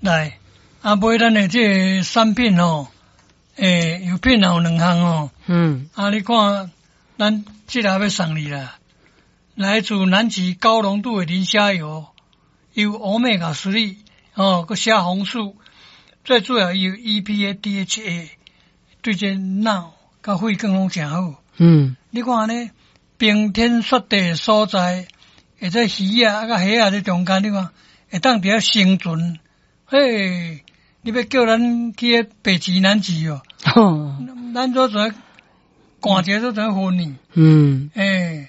來，啊，買咱的這个產品吼，欸，藥品也有兩項吼。啊，你看，咱這个欲送你啦，來自南極高濃度的磷蝦油，有歐米伽3，哦，閣蝦紅素，最主要有 EPA、DHA，對這腦佮血管攏誠好。你看按呢，冰天雪地的所在，或者魚仔佮蝦仔佇中間，你看會當佇遐生存。嘿，你欲叫咱去彼北極、南極哦？咱都怎寒一下都怎昏去？欸，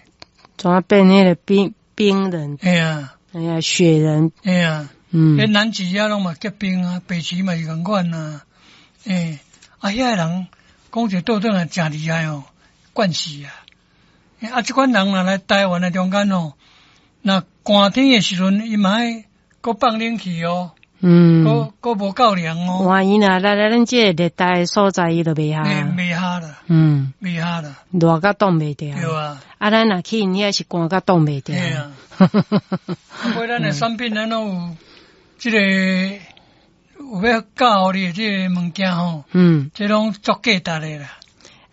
怎變彼个冰冰人？嘿啊，哎呀，雪人。嘿啊，彼南極遐攏嘛結冰啊，北極嘛是仝款啊。欸，啊，遐个人講一個倒轉來誠厲害哦，慣勢啊。啊，這款人若來台灣的中間哦，若寒天的時陣，伊嘛愛閣放冷氣哦。閣閣無夠涼哦。萬一若來來咱這個熱帶的所在，伊就袂合。袂合啦。袂合啦。熱甲擋袂牢。對啊。啊，咱若去𪜶遐是寒甲擋袂牢。嘿啊。啊，尾咱的產品咱攏有這个有欲教予你的這个物件吼。這攏足價值的啦。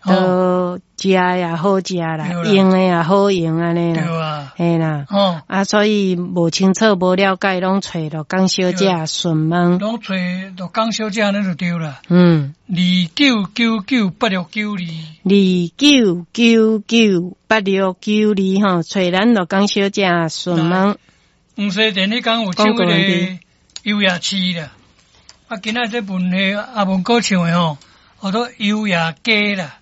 都食也好食啦，用的也好用按呢啦。對啊。嘿啦。啊，所以無清楚、無了解，攏揣鹿港小姐詢問。攏揣鹿港小姐按呢就對啦。29998692。29998692吼，揣咱鹿港小姐詢問。黃西田彼工有唱彼个幽夜市啦，啊，今仔這文戲阿文哥唱的吼，號做幽夜街啦。